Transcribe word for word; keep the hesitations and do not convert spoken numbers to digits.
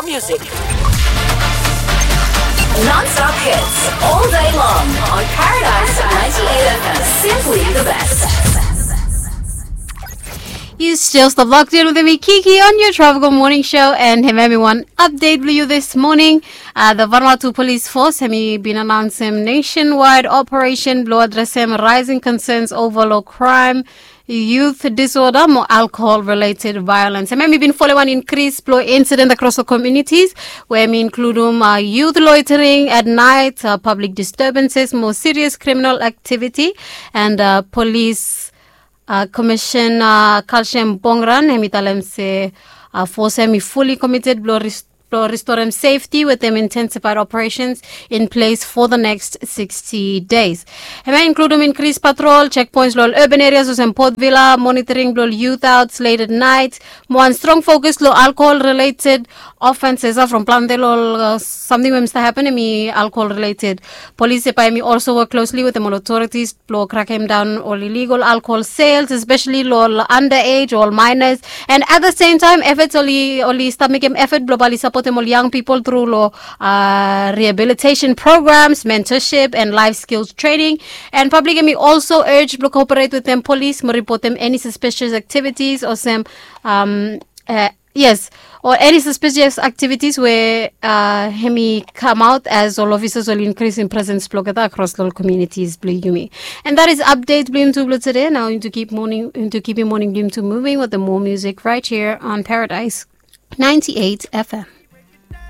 Music. Non-stop hits all day long on Paradise ninety-eight F M. Simply the best. Yu stil stap locked in wetem mi, Kiki, on your Tropical Morning Show, and hemia hemi wan update blong yu this morning. Uh, the Vanuatu Police Force hemi bin anaonsem nationwide operation blong adresem rising concerns over lo crime, youth disorder mo alcohol related violence. Hemia hemi bin folem wan increase blong incident across the communities, we hemi inkludum uh, youth loitering at night, uh, public disturbances mo serious criminal activity, and uh, police uh, Commissioner Kalshem Bongran hemi talem se uh, force hemi fully committed blong rest blong restorem safety wetem intensified operations in place for the next sixty days. Hemia hemi inkludum increase patrol checkpoints lo urban areas olsem Port Vila, monitoring blong youth outs late at night, mo wan strong focus lo alcohol related offenses. Uh, from plante lo uh, samting we hemi stap happen hemi alcohol related. Police se bae hemi also work closely wetem ol authorities blong krakem daon ol illegal alcohol sales, especially lo ol underage o ol minors. And at the same time, efforts oli oli stap mekem effort blong bae oli sapotem ol young people through lo uh, rehabilitation programs, mentorship and life skills training. And public hemi also urge blong cooperate wetem police mo reportem any suspicious activities olsem um, uh, yes, o any suspicious activities we uh, hemi come out as ol officers oli increase in presence blong olgeta across ol communities blong yumi. And that is update blong yumi tu blong today. Nao yumi tu keep morning, yumi tu keep yumi morning blong yumi tu moving with the more music right here on Paradise ninety-eight F M.